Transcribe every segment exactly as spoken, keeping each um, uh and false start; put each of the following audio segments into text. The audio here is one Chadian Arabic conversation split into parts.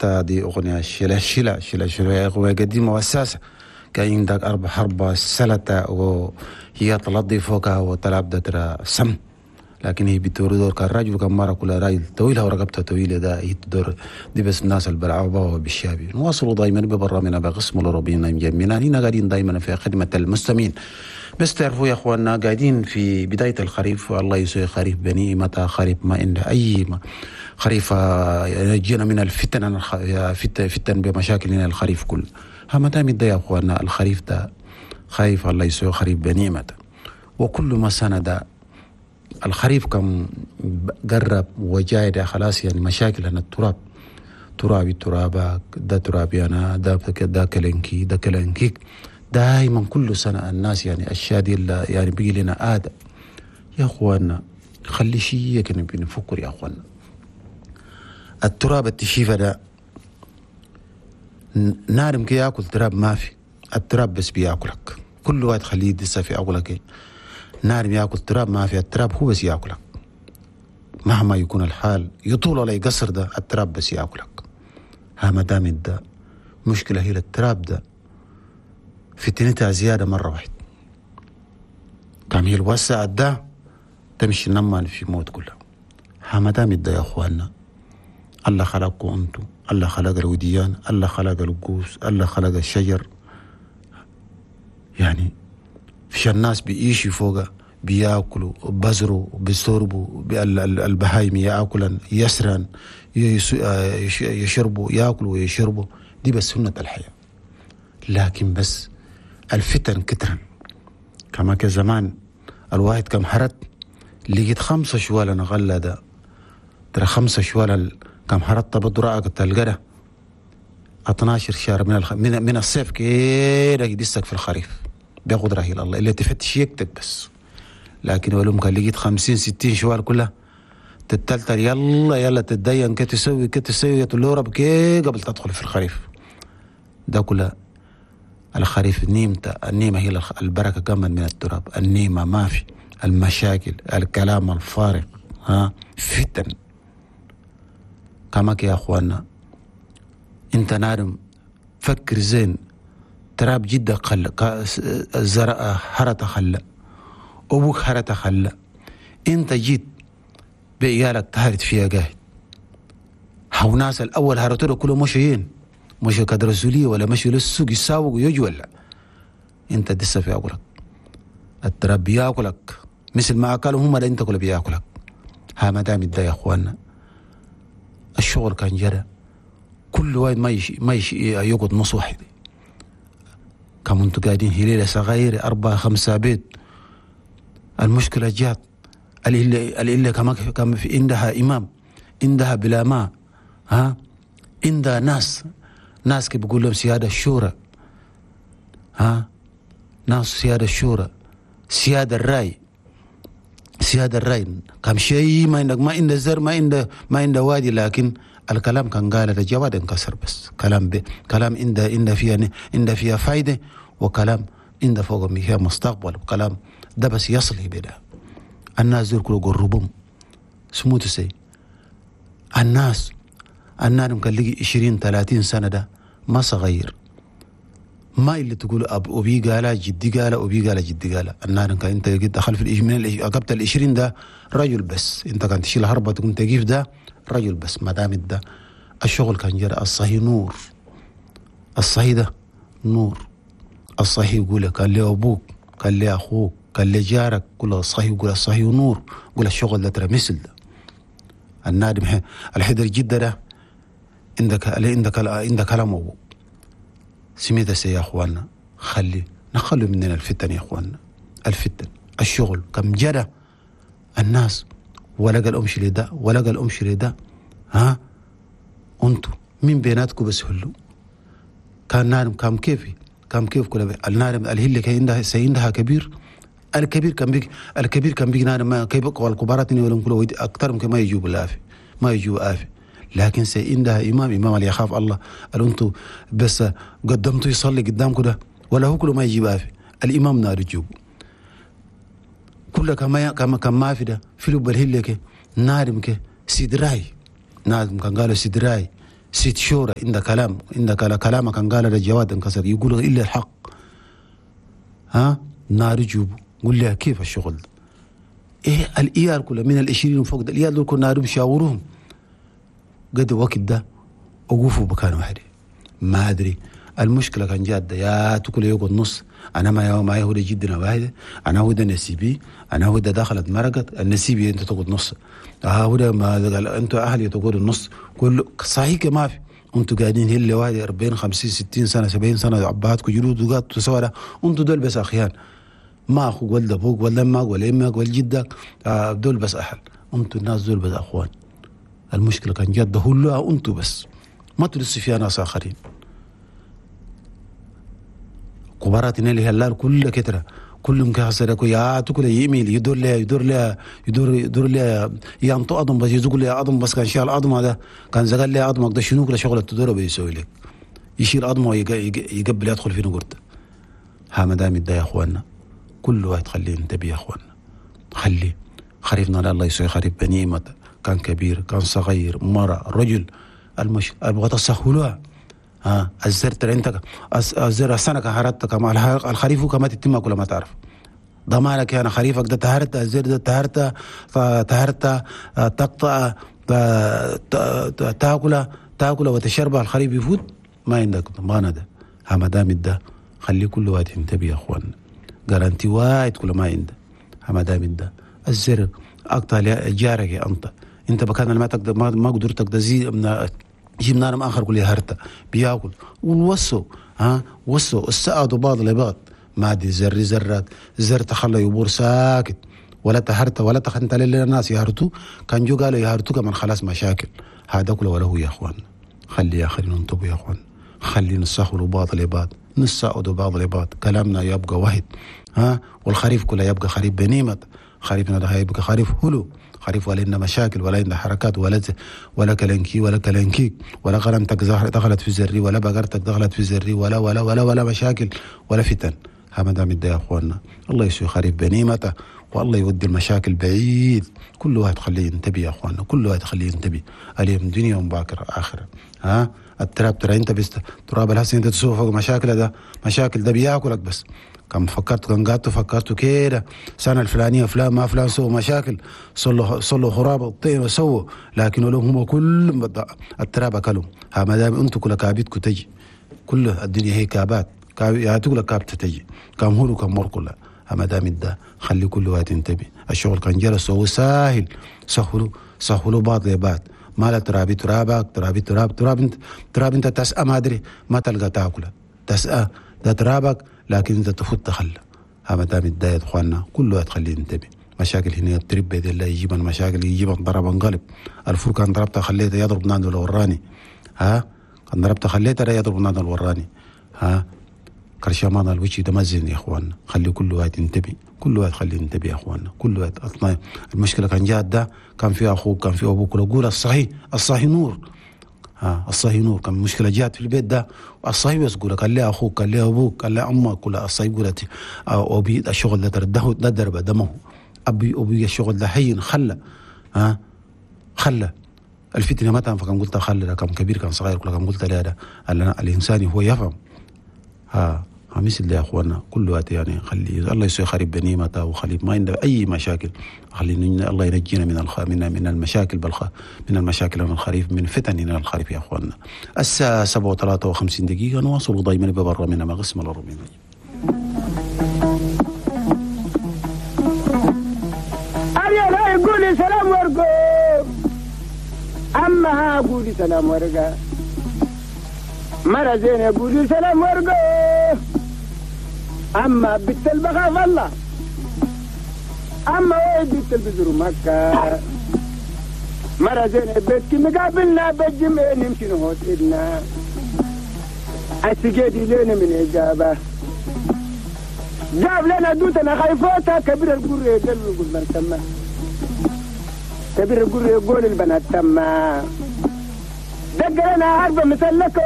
حتى دي أغنية شلا شلا شلا شلا أغنية قديمة وأساسة. كان عندك أربع حربة سلطة وهي تلضي فوقها وتلعب ترى سم، لكن هي بتدور دور كان راجل كان مرة كل راجل طويلة ورقبتها طويلة ده هي تدور دي بس الناس اللي بلعبوها وبالشابي. نواصلوا دايما ببرنامجنا بقسم الأوروبيين مجمعنا هنا قاعدين دايما في خدمة المستمعين. بس تعرفوا يا اخواننا قاعدين في بداية الخريف، والله يسوي خريف بني متى خريف ما عنده أي ما خريف يجينا من الفتن، فتن فتن بمشاكلنا الخريف كله. ها متى مدى يا اخواننا الخريف ده خايف الله يسوي خريف بني متى. وكل ما سنة ده الخريف كم قرب وجاي ده خلاص يعني مشاكل أن التراب ترابي ترابك ده ترابي أنا ده ده كلنكي ده كلنكيك دائما كل سنة الناس يعني الأشياء دي يعني بيجي لنا آدم يا أخوانا. خلي شيء كنا بنفكر يا أخوانا. التراب التشيفة ده نارم كي ياكل تراب ما في، التراب بس بياكلك كل واحد خليه يدسه في عقلك. نارم ياكل تراب ما في، التراب هو بس ياكلك مهما يكون الحال يطول ولا يقصر ده التراب بس ياكلك. ها ما دام ده مشكلة هي التراب ده فتنتها زيادة مرة واحدة كم هي الوسع ده تمشي نمان في موت كلها. ها ما دام ده يا اخواننا الله خلقكم انتم، الله خلق الوديان، الله خلق القوس، الله خلق الشجر، يعني في الناس بيعيشوا فوقه بياكلوا بزروا بيشربوا البهايم ياكلن يسرن يشربوا ياكلوا ويشربوا، دي بس سنة الحياة. لكن بس الفتن كترن كما كزمان الواحد كم حرت لقيت خمسة شوال غلة ده ترى خمسة شوال كم حرت بدرعك تلقى اثناشر شهر من الخ... من من الصيف كده يدسك في الخريف بقدره إلى الله اللي تفتش يكتب بس. لكن ولو كان لقيت خمسين ستين شوال كلها تتلتل يلا يلا تتدين كي تسوي كي تسوي تقول رب كي قبل تدخل في الخريف ده كله. الخريف نيمته النيمة هي البركة كمان من التراب، النيمة ما في المشاكل الكلام الفارغ ها فتن. كما يا اخوانا انت نارم فكر زين تراب جدا خل زرع هرت خل ابوك هرت خل انت جيت بعيالك تهرت فيها قاعد. هاو ناس الاول هرتوا كله مشيين مشوا كدرسولية ولا مشوا للسوق يساوقوا يجوا ولا انت دسه في عقلك التراب بياكلك مثل ما اكلوا هم انت كله بياكلك. ها ما دام يا اخوانا الشغل كان جرى كل واحد ما يش ما يش يقعد نص واحد. كم انتوا قاعدين هليلة صغيرة أربعة خمسة بيت المشكلة جات الإلا الإلا كما كما في عندها إمام عندها بلا ما ها عندها ناس ناس كي بيقول لهم سيادة الشورى ها ناس سيادة الشورى سيادة الرأي سيادة الرأي كم شيء ما عندك ما عند زر ما عند ما عند وادي. لكن الكلام كان قال الجواد انكسر بس كلام ب... كلام عند عند فيها عند فيها فايدة وكلام عند فوق فيها مستقبل وكلام ده بس يصل بدا. الناس دول كله قربهم سموت سي الناس الناس ممكن لقي عشرين ثلاثين سنة ده ما صغير ما اللي تقول أب أبي قال جدي قال أبي قال جدي قال. النار كان أنت دخل في من قبل العشرين ده رجل بس أنت كان تشيل هربة تكون تجيف ده رجل بس ما دام ده الشغل كان جرى. الصحي نور الصحي ده نور الصحي يقول قال لي أبوك قال لي أخوك قال لي جارك كل الصحي يقول الصحي نور يقول الشغل ده ترى مثل ده النادم الحدر جدا ده عندك عندك عندك كلام أبوك سميت يا اخواننا. خلي نخلوا مننا الفتن يا اخواننا الفتن الشغل كم جرى الناس ولا قال امشي لده ولا قال امشي لده ها انتو مين بيناتكم بس هلو كان نارم كم كيفي كم كيف كل النارم الهل كان عندها سيندها كبير الكبير كان بيك الكبير كان بيك نارم ما كيف والكبارات ولا كله اكثر ممكن ما يجيب الافي ما يجيب افي. لكن سيندها إمام إمام اللي يخاف الله قالوا أنتوا بس قدمتوا يصلي قدامكم ده ولا هو كله ما يجيب آفي الإمام نار يجيبه كله كما كما كما ما في ده في لب الهلك نارمك سيدراي نادم كان قالوا سيدراي ست شورى عند كلام عند كلامك كان قال الجواد انكسر يقول الا الحق. ها نار جوب قول لها كيف الشغل ده؟ ايه الايال كلها من العشرين وفوق ده الايال دول كنا مشاورهم قد وقت ده وقفوا بكان واحد ما ادري المشكلة كان جاده يا تاكل يقعد نص انا ما ما هو جدنا واحد انا هو ده نسيبي انا هو ده دخلت مرقت النسيبي انت تقعد نص ها هو ده ما قال انتوا اهلي تقعدوا النص كله صحيح ما في انتوا قاعدين هل واحد أربعين خمسين ستين سنة سبعين سنة عباتكم جلود وقات سوا انتوا دول بس اخيان ما اخوك ولا ابوك ولا امك ولا امك ولا جدك دول بس اهل انتوا الناس دول بس اخوان. المشكلة كان جد هلوها انتوا بس ما تلسوا فيها ناس اخرين. كباراتنا اللي هلال كل كتره كلهم كحسرك يا تقول يميل يدور لها يدور لها يدور يدور لها ينطق اضم بس يزق لها اضم بس كان شال اضم هذا كان زقل لها اضمك ده شنو كل شغله تدور بيسوي لك يشيل اضمه ويقبل يدخل في نقرته. ها ما دام يا اخواننا كل واحد خليه ينتبه يا اخواننا خليه خريفنا لا الله يسوي خريف بنيمة كان كبير كان صغير مرة رجل المش ابغى تسهلوها. ها الزر ترى انت الزر السنة كهرتك مع الخريف كما تتم كل ما تعرف ضمانك انا خريفك ده تهرت الزر ده تهرت تهرت تقطع تاكله تاكله وتشربه الخريف يفوت ما عندك ضمانه ده. ها ما دام ده خلي كل واحد ينتبه يا اخوان جارانتي واحد كل ما عنده. ها ما دام ده الزر اقطع جارك انت انت بكان ما تقدر ما قدرتك ده زي جيب نارم اخر كل هرتا بياكل والوصوا ها وصوا السقطوا بعض لبعض ما دي زر زرات زر تخلى يبور ساكت ولا تهرت ولا تخنت للناس يهرتوا كان جو قالوا يهرتوا كمان خلاص مشاكل هذا كله ولا هو يا اخوان. خلي يا اخي ننتبه يا اخوان خلي نسخروا بعض لبعض نساعدوا بعض لبعض كلامنا يبقى واحد. ها والخريف كله يبقى خريف بنيمة خريفنا ده هيبقى خريف هلو خريف ولا لنا مشاكل ولا لنا حركات ولا ولا كلنكي ولا كلنكيك ولا غنمتك دخلت في زري ولا بقرتك دخلت في زري ولا ولا ولا ولا مشاكل ولا فتن. ها ما دام يا اخواننا الله يسوي خريف بنيمته والله يودي المشاكل بعيد. كل واحد خليه ينتبه يا اخواننا كل واحد خليه ينتبه اليوم دنيا ومباكر اخره. ها التراب ترى انت بس تراب الحسن انت تسوق فوق مشاكل ده مشاكل ده بياكلك بس كم فكرت كان قعدت فكرت كده سنة الفلانية فلان ما فلان سووا مشاكل صلوا صلوا خراب الطين وسووا لكن لهم هم كل التراب اكلوا. ها ما دام انتم كل كابتكم تجي كل الدنيا هي كابات يا تقول كابت تجي كم هو كم مر كلها. ها ما دام ده خلي كل واحد ينتبه الشغل كان جلس هو ساهل سهلوا سهلوا بعض لبعض ما لا ترابي ترابك ترابي تراب تراب انت تراب انت تسأى ما ادري ما تلقى تاكله تسأى ده ترابك لكن انت تفوت تخلى. ها ما دام يا اخواننا كل واحد خليه ينتبه مشاكل هنا ترب بيد الله يجيب المشاكل يجيب ضرب انقلب الفور كان ضربته خليته يضرب نادو الوراني. ها كان ضربته خليته لا يضرب نادو الوراني. ها كرشمان الوجه ده ما زين يا اخواننا خلي كل واحد ينتبه كل واحد خليه ينتبه يا اخواننا كل واحد. اصلا المشكلة كان جات ده كان في اخوك كان في ابوك قول الصحيح الصحيح نور. ها الصحيح نور كان مشكلة جات في البيت ده الصحيح بس قول كان لي اخوك كان لي ابوك كان لي امك ولا الصحيح قولت ابي الشغل ده ترده ده درب دمه ابي ابي الشغل ده حين خلى. ها خلى الفتنة ما تنفع كان قلت خلى كان كبير كان صغير كان قلت لا ده الانسان هو يفهم. ها مثل يا اخوانا كل وقت يعني خلي الله يسوي خريب بنيمته وخلي ما عنده اي مشاكل خلي الله ينجينا من الخ... من من المشاكل بالخ... من المشاكل من الخريف من فتن من الخريف يا اخوانا. الساعة سبعة وثلاثة وخمسين دقيقة نواصل دائما ببرا من مغسم الأربعين. لا يقولي سلام ورقة اما قولي سلام ورقة مرة زين يقولي سلام ورقة أما بنت البخاف الله أما وين بنت البزر مكة مرة زين بيتك مقابلنا بالجمع نمشي نهوت إلنا السجادي لنا من إجابة جاب لنا دوتنا خايفوتا كبير القرية قال يقول من تما كبير القرية يقول البنات تما دق لنا عربة مسلكة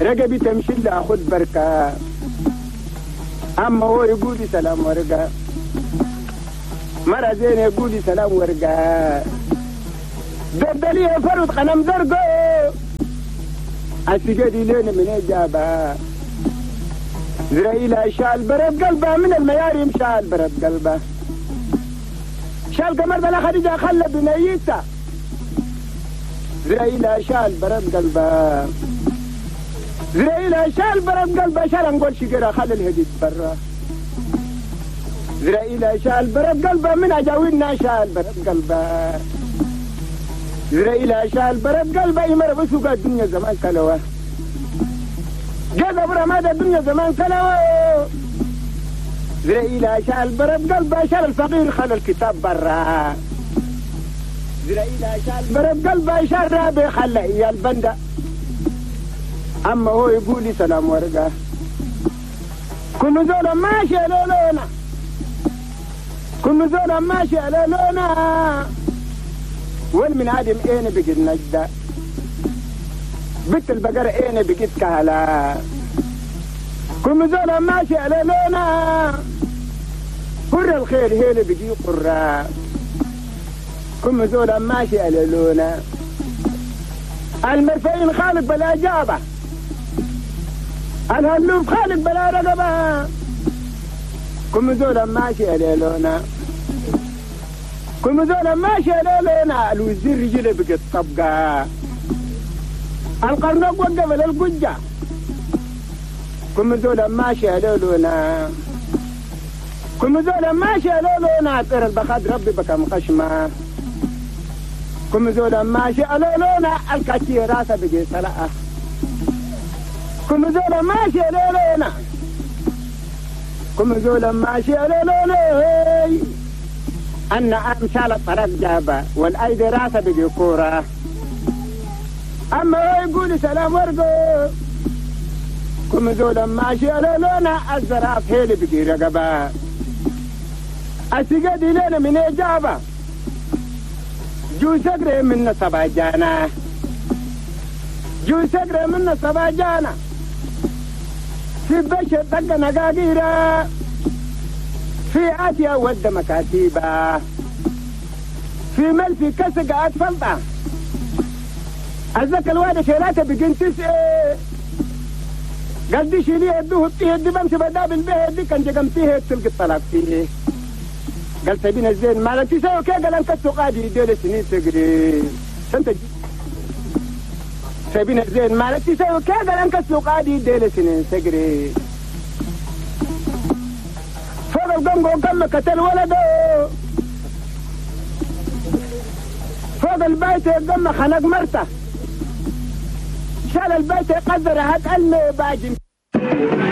رقبي تمشي لا أخذ بركة أما هو يقولي سلام ورقة مرة زين يقولي سلام ورقة. دردلية فرد قلم زرقو السجادي لين من إجابة زرائيل شال برد قلبه من المياريم شال برد قلبه شال قمر بلا خديجة خلى بنيته زرائيل شال برد قلبه زرائيل شال برد قلبه شال نقول شجرة خلى الهديد برا زرائيل شال برد قلبه من أجاوينا شال برد قلبه زرائيل شال برد قلبه يمر بسوق الدنيا زمان كلوه جذب رماد الدنيا زمان كلوه زرائيل شال برد قلبه شال الفقير خلى الكتاب برا زرائيل شال برد قلبه شال رابي خلى إيا البندة أما هو يقول لي سلام ورقة كل زولا ماشي على لونا كل زولا ماشي على لونا والمن عادم اين بقيت نجدة بنت البقرة اين بقيت كهلا كل زولا ماشي على لونا قر الخير هيل بقي قرة كل زولا ماشي على لونا المرفعين خالق بلا جابة الهلوف خالق بلا رقبة كل زولا ماشي على لونا كل زولا ماشي على لونا الوزير رجله بقت طبقة القرنق وقف للقجة كل زولا ماشي على لونا كل زولا ماشي على لونا طير البخاد ربي بكم خشمة كل زولا ماشي على لونا الكاتي راسه بقي سلعة كل زولا ماشي على لونا كل زولا ماشي على لونا أن أمثال الطرف جابة والأيدي راسه بقي كورة أما هو يقول سلام ورقو كل زولا ماشي على لونا الزراف هيلي بقي رقبة السجادي لنا من إجابة جو سقري من سبع جانا جو سقري من سبع جانا في بشر دق نقاقيرا في آتيا ود مكاتيبا في ملفي كسق أطفلطة أزك الواد شيلاته بقين تسعة قال دي شيليه يدوه بتيه دي بمشي بدابل به دي كان جقمتيه تلقي الطلاق فيه قال سبين الزين مالك تسوي كي قال انت السقادي ديل سنين تقري سنت سبين الزين مالك تسوي كي قال انت السقادي ديل سنين تقري فوق القنقو كم قتل ولده فوق البيت قم خنق مرته شال البيت قدر هات المي باجي.